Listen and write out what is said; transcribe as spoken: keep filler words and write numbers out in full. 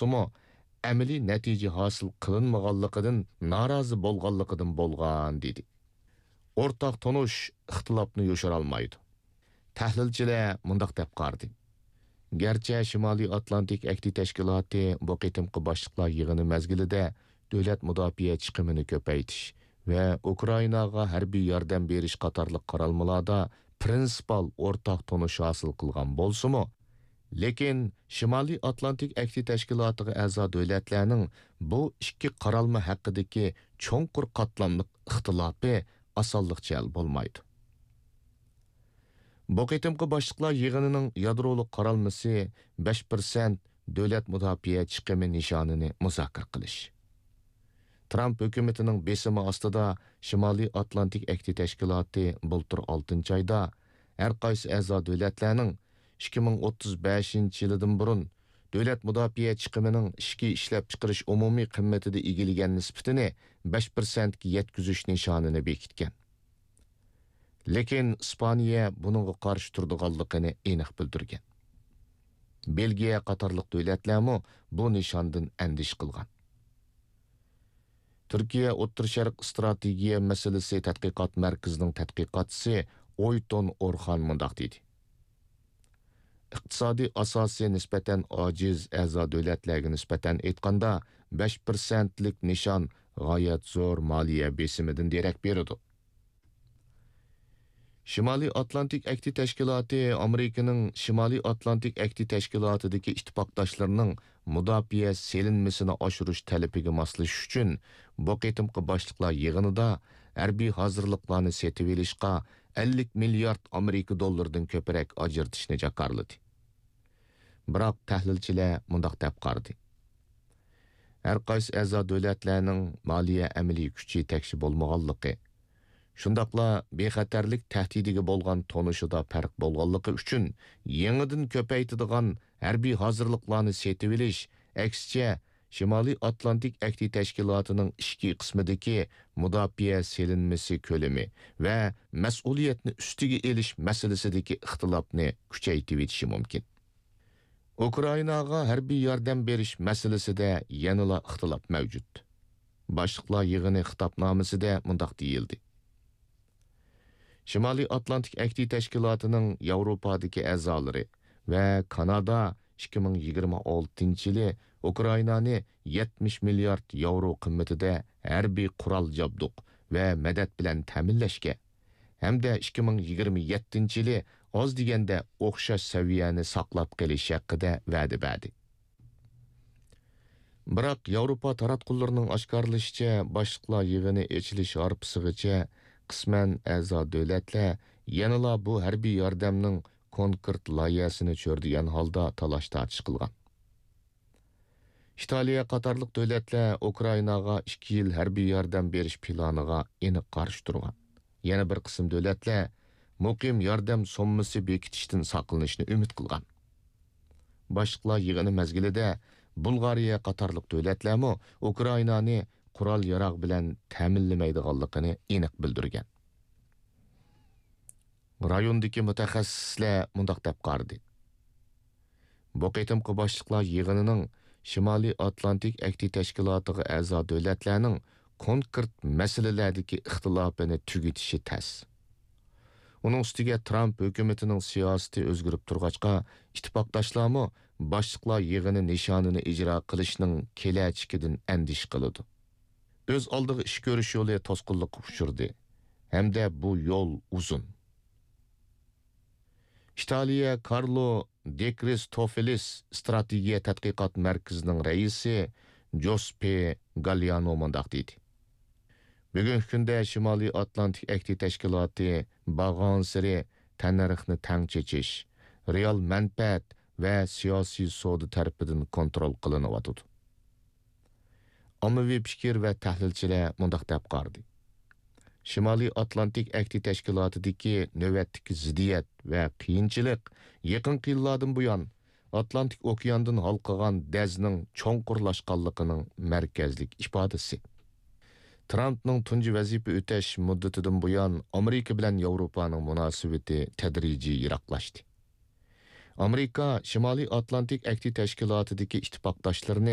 بولسىمۇ، ئەمەلىي نەتىجە ھاسىل قىلىنمىغانلىقىدىن نارازى بولغانلىقىدىن بولغان، دېدى. ئورتاق تونۇش ئىختىلاپنى يوشۇرالمايدۇ. تەھلىلچىلەر مۇنداق دەپ قارىدى: گەرچە شىمالىي ئاتلانتىك ئەھدى تەشكىلاتى بۇ قېتىمقى باشلىقلار يىغىنى مەزگىلىدە دۆلەت مۇداپىئە چىقىمىنى كۆپەيتىش ۋە ئۇكرائىناغا ھەربىي ياردەم بېرىش قاتارلىق قارالمىلاردا پرىنسىپال ئورتاق تونۇش ھاسىل قىلغان بولسىمۇ، لېكىن شىمالىي ئاتلانتىك ئەھدى تەشكىلاتىغا ئەزا دۆلەتلەرنىڭ بۇ ئىككى قارالما ھەققىدىكى چوڭقۇر قاتلاملىق ئىختىلاپى ئاسانلىقچە ھەل بولمايدۇ. بۇ قېتىمقى باشلىقلار يىغىنىنىڭ يادرولۇق قارالمىسى بەش پىرسەنت دۆلەت مۇداپىئە چىقىمى نىشانىنى مۇزاكىرە قىلىش. ترامپ ھۆكۈمىتىنىڭ بېسىمى ئاستىدا شىمالىي ئاتلانتىك ئەھدى تەشكىلاتى بۇلتۇر ئالتىنچى ئايدا ھەر قايسى ئەزا دۆلەتلەرنىڭ ئىككى مىڭ ئوتتۇز بەشىنچى يىلىدىن بۇرۇن دۆلەت مۇداپىئە چىقىمىنىڭ ئىچكى ئىشلەپچىقىرىش ئومۇمىي قىممىتىدە ئىگىلىگەن نىسبىتىنى بەش پىرسەنتكە يەتكۈزۈش نىشانىنى بېكىتكەن. لېكىن ئىسپانىيە بۇنىڭغا قارشى تۇرىدىغانلىقىنى ئېنىق بىلدۈرگەن. بېلگىيە قاتارلىق دۆلەتلەرمۇ بۇ نىشاندىن ئەندىشە قىلغان. تۈركىيە ئوتتۇرا شەرق ئىستراتېگىيە مەسىلىسى تەتقىقات مەركىزىنىڭ تەتقىقاتچىسى ئويتون ئورخان مۇنداق دېدى: ئىقتىسادىي ئاساسى نىسبەتەن ئاجىز ئەزا دۆلەتلەرگە نىسبەتەن ئېيتقاندا، بەش پىرسەنتلىك نىشان غايەت زور مالىيە بېسىمىدىن دېرەك بېرىدۇ. شىمالىي ئاتلانتىك ئەھدى تەشكىلاتى ئامېرىكىنىڭ شىمالىي ئاتلانتىك ئەھدى تەشكىلاتىدىكى ئىتتىپاقداشلىرىنىڭ مۇداپىئە سېلىنمىسىنى ئاشۇرۇش تەلىپىگە ماسلىشىش ئۈچۈن، بۇ قېتىمقى باشلىقلار يىغىنىدا ھەربىي ھازىرلىقلارنى سېتىۋېلىشقا ئەللىك مىليارد ئامېرىكا دوللىرىدىن كۆپرەك ئاجرىتىشنى جاكارلىدى. بىراق تەھلىلچىلەر مۇنداق دەپ قارىدى: ھەر قايسى ئەزا دۆلەتلەرنىڭ مالىيە ئەمەلىي كۈچى تەكشى بولمىغانلىقى، شۇنداقلا بىخەتەرلىك تەھدىتىگە بولغان تونۇشىدا پەرق بولغانلىقى ئۈچۈن، يېڭىدىن كۆپەيتىدىغان ھەربىي ھازىرلىقلارنى سېتىۋېلىش، ئەكسىچە، شىمالىي ئاتلانتىك ئەھدى تەشكىلاتىنىڭ ئىچكى قىسمىدىكى مۇداپىئە سېلىنمىسى كۆلىمى ۋە مەسئۇلىيەتنى ئۈستىگە ئېلىش مەسىلىسىدىكى ئىختىلاپنى كۈچەيتىۋېتىشى مۇمكىن. ئۇكرائىناغا ھەربىي ياردەم بېرىش مەسىلىسىدە يەنىلا ئىختىلاپ مەۋجۇت. باشلىقلار يىغىنى خىتابنامىسىدە مۇنداق دېيىلدى: شىمالىي ئاتلانتىك ئەھدى تەشكىلاتىنىڭ ياۋروپادىكى ئەزالىرى ۋە كانادا ئىككى مىڭ يىگىرمە ئالتىنچى يىلى ئۇكرائىنانى يەتمىش مىليارد ياۋرو قىممىتىدە ھەربىي قورال جابدۇق ۋە مەدەت بىلەن تەمىنلەشكە ھەمدە ئىككى مىڭ يىگىرمە يەتتىنچى يىلى ئاز دېگەندە ئوخشاش سەۋىيەنى ساقلاپ قېلىش ھەققىدە ۋەدە بەردى. بىراق، ياۋروپا تاراتقۇلىرىنىڭ ئاشكارىلىشىچە، باشلىقلار يىغىنى ئېچىلىش ھارپىسىغىچە قىسمەن ئەزا دۆلەتلەر يەنىلا بۇ ھەربىي ياردەمنىڭ كونكرېت لايىھەسىنى چۆرىدىگەن ھالدا تالاش-تارتىش قىلغان. ئىتالىيە قاتارلىق دۆلەتلەر ئۇكرائىناغا ئىككى يىل ھەربىي ياردەم بېرىش پىلانىغا ئېنىق قارشى تۇرغان. يەنە بىر قىسىم دۆلەتلەر مۇقىم ياردەم سوممىسى بېكىتىشتىن ساقلىنىشنى ئۈمىد قىلغان. باشلىقلار يىغىنى مەزگىلىدە بۇلغارىيە قاتارلىق دۆلەتلەرمۇ ئۇكرائىنانى قورال-ياراغ بىلەن تەمىنلىمەيدىغانلىقىنى ئېنىق بىلدۈرگەن. رايوندىكى مۇتەخەسسىسلەر مۇنداق دەپ قارىدى: بۇ قېتىمقى باشلىقلار يىغىنىنىڭ شىمالىي ئاتلانتىك ئەھدى تەشكىلاتىغا ئەزا دۆلەتلەرنىڭ كونكرېت مەسىلىلەردىكى ئىختىلاپىنى تۈگىتىشى تەس. ئۇنىڭ ئۈستىگە ترامپ ھۆكۈمىتىنىڭ سىياسىتى ئۆزگىرىپ تۇرغاچقا، ئىتتىپاقداشلارمۇ باشلىقلار يىغىنى نىشانىنى ئىجرا قىلىشنىڭ كېلەچىكىدىن ئەندىشە قىلىدۇ. ئۆز ئالدىغا ئىش كۆرۈش يولى توسقۇنلۇققا ئۇچرىدى ھەمدە بۇ يول ئۇزۇن. ئىتالىيە كارلو دېكرىستوفېلىس ئىستراتېگىيە تەتقىقات مەركىزىنىڭ رەئىسى جوسپې گاليانو مۇنداق دېدى: بۈگۈنكى كۈندە شىمالىي ئاتلانتىك ئەھدى تەشكىلاتى بارغانسېرى تەننەرخنى تەڭ چېچىش، رېئال مەنپەئەت ۋە سىياسىي سودا تەرىپىدىن كونترول قىلىنىۋاتىدۇ. ئاممىۋى پىكىر ۋە تەھلىلچىلەر مۇنداق دەپ قارىدى: شىمالىي ئاتلانتىك ئەھدى تەشكىلاتىدىكى نۆۋەتتىكى زىددىيەت ۋە قىيىنچىلىق يېقىنقى يىللاردىن بۇيان ئاتلانتىك ئوكياندىن ھالقىغان دەزنىڭ چوڭقۇرلاشقانلىقىنىڭ مەركەزلىك ئىپادىسى. ترامپنىڭ تۇنجى ۋەزىپە ئۆتەش مۇددىتىدىن بۇيان ئامېرىكا بىلەن ياۋروپانىڭ مۇناسىۋىتى تەدرىجىي يىراقلاشتى. ئامېرىكا شىمالىي ئاتلانتىك ئەھدى تەشكىلاتىدىكى ئىتتىپاقداشلىرىنى